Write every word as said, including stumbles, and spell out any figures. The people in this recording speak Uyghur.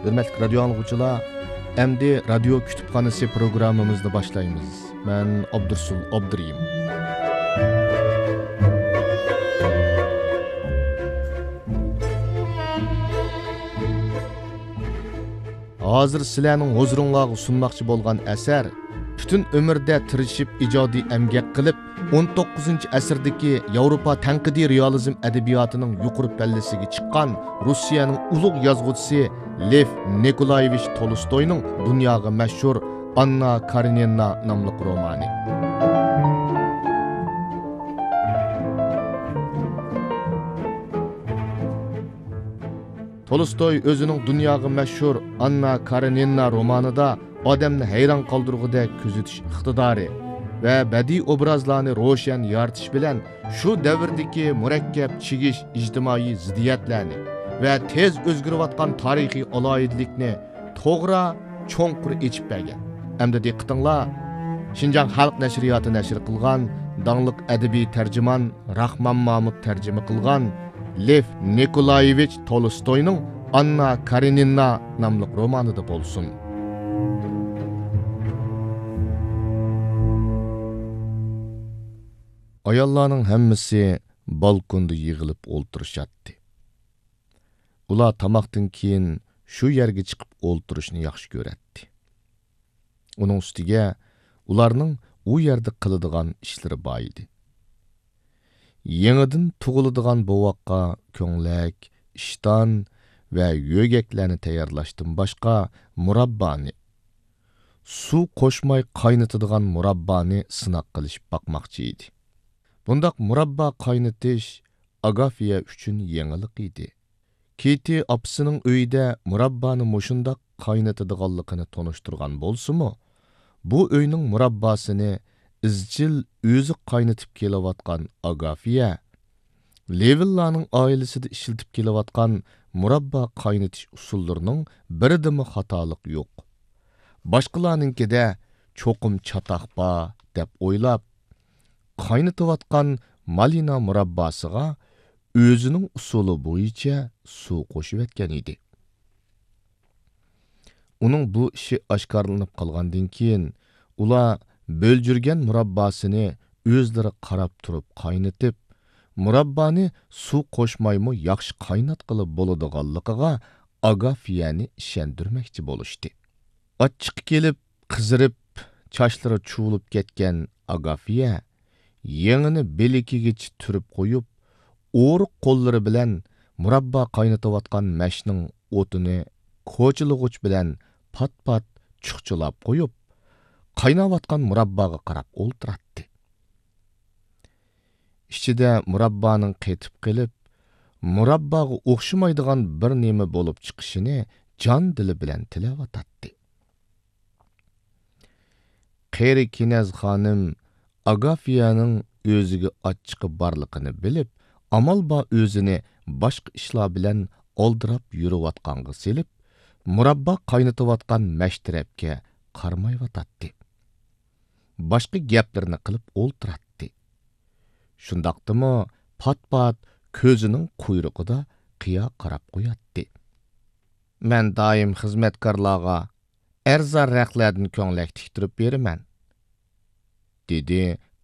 ھۆرمەتلىك رادىيو ئاڭلىغۇچىلار، ئەمدى رادىيو كۇتۇپخانىسى پروگراممىمىزنى باشلايمىز. مەن ئابدۇرسۇل ئابدۇرېھىم. ھازىر سىلەرنىڭ ھۇزۇرۇڭلارغا سۇنماقچى بولغان ئەسەر پۈتۈن ئۆمرىدە تىرىشىپ ئىجادىي ئەمگەك قىلىپ، ئون توققۇزىنچى ئەسىردىكى ياۋروپا تەنقىدىي رېئالىزم ئەدەبىياتىنىڭ يۇقىرى پەللىسىگە چىققان روسىيەنىڭ ئۇلۇغ يازغۇچىسى لېف نىكولايېۋىچ تولستوينىڭ دۇنياغا مەشھۇر ئاننا كارېنىنا ناملىق رومانى. تولستوي ئۆزىنىڭ دۇنياغا مەشھۇر ئاننا كارېنىنا رومانىدا ئادەمنى ھەيران قالدۇرغۇدەك كۆزىتىش ئىقتىدارى ۋە بەدىئىي ئوبرازلارنى روشەن يارىتىش بىلەن شۇ دەۋردىكى مۇرەككەپ چىگىش ئىجتىمائىي زىددىيەتلەرنى ۋە تېز ئۆزگىرىۋاتقان تارىخىي ئالاھىدىلىكنى توغرا، چوڭقۇر ئېچىپ بەرگەن. ئەمدى دىققىتىڭلار، شىنجاڭ خەلق نەشرىياتى نەشر قىلغان داڭلىق ئەدەبىي تەرجىمان راخمان مامۇت تەرجىمە قىلغان لېف نىكولايېۋىچ تولستوينىڭ ئاننا كارېنىنا ناملىق رومانىدا بولسۇن. ئاياللارنىڭ ھەممىسى بالكوندا يىغىلىپ ئولتۇرۇشاتتى. ئۇلار تاماقتىن كېيىن شۇ يەرگە چىقىپ ئولتۇرۇشنى ياخشى كۆرەتتى. ئۇنىڭ ئۈستىگە ئۇلارنىڭ ئۇ يەردە قىلىدىغان ئىشلىرى بار ئىدى. يېڭىدىن تۇغۇلىدىغان بوۋاققا كۆڭلەك، ئىشتان ۋە يۆگەكلەرنى تەييارلاشتىن باشقا، مۇراببانى، سۇ قوشماي قاينىتىدىغان مۇراببانى سىناق قىلىشىپ باقماقچى ئىدى. بۇنداق مۇراببا قاينىتىش ئاگافىيە ئۈچۈن يېڭىلىق ئىدى. كېتى ئاپىسىنىڭ ئۆيىدە مۇراببانى مۇشۇنداق قاينىتىدىغانلىقىنى تونۇشتۇرغان بولسىمۇ، بۇ ئۆينىڭ مۇرابباسىنى ئىزچىل ئۆزى قاينىتىپ كېلىۋاتقان ئاگافىيە لېۋىنلارنىڭ ئائىلىسىدە ئىشلىتىپ كېلىۋاتقان مۇراببا قاينىتىش ئۇسۇللىرىنىڭ بىرىدىمۇ خاتالىق يوق. باشقىلارنىڭكىدە چوقۇم چاتاق بار دەپ ئويلاپ، قاينىتىۋاتقان مالىنا مۇرابباسىغا ئۆزىنىڭ ئۇسۇلى بويىچە سۇ قوشۇۋەتكەن ئىدى. ئۇنىڭ بۇ ئىشى ئاشكارىلىنىپ قالغاندىن كېيىن، ئۇلار بۆلجۈرگەن مۇرابباسىنى ئۆزلىرى قاراپ تۇرۇپ قاينىتىپ، مۇراببانى سۇ قوشمايمۇ ياخشى قايناتقىلى بولىدىغانلىقىغا ئاگافىيەنى ئىشەندۈرمەكچى بولۇشتى. ئاچچىقى كېلىپ، قىزىرىپ، چاچلىرى چۇۋۇلۇپ كەتكەن ئاگافىيە يېڭىنى بىلىكىگىچە تۈرۈپ قويۇپ، ئورۇق قوللىرى بىلەن مۇراببا قاينىتىۋاتقان مەشنىڭ ئوتىنى كوچىلىغۇچ بىلەن پات-پات چۇخچىلاپ قويۇپ، قايناۋاتقان مۇرابباغا قاراپ ئولتۇراتتى. ئىچىدە مۇراببانىڭ قېتىپ قېلىپ، مۇرابباغا ئوخشىمايدىغان بىر نېمە بولۇپ چىقىشىنى جان-دىلى بىلەن تىلەۋاتاتتى. قېرى كېنەز خانىم ئاگافىيەنىڭ ئۆزىگە ئاچچىقى بارلىقىنى بىلىپ، ئامال بار ئۆزىنى باشقا ئىشلار بىلەن ئالدىراپ يۈرۈۋاتقانغا سېلىپ، مۇراببا قاينىتىۋاتقان مەش تەرەپكە قارىمايۋاتاتتى. باشقا گەپلىرىنى قىلىپ ئولتۇراتتى. شۇنداقتىمۇ پات-پات كۆزىنىڭ قۇيرۇقىدا قىيا قاراپ قوياتتى. «مەن دائىم خىزمەتكارلارغا ئەرزان رەختلەردىن كۆڭلەك تىكتۈرۈپ بېرىمەن»، دېدى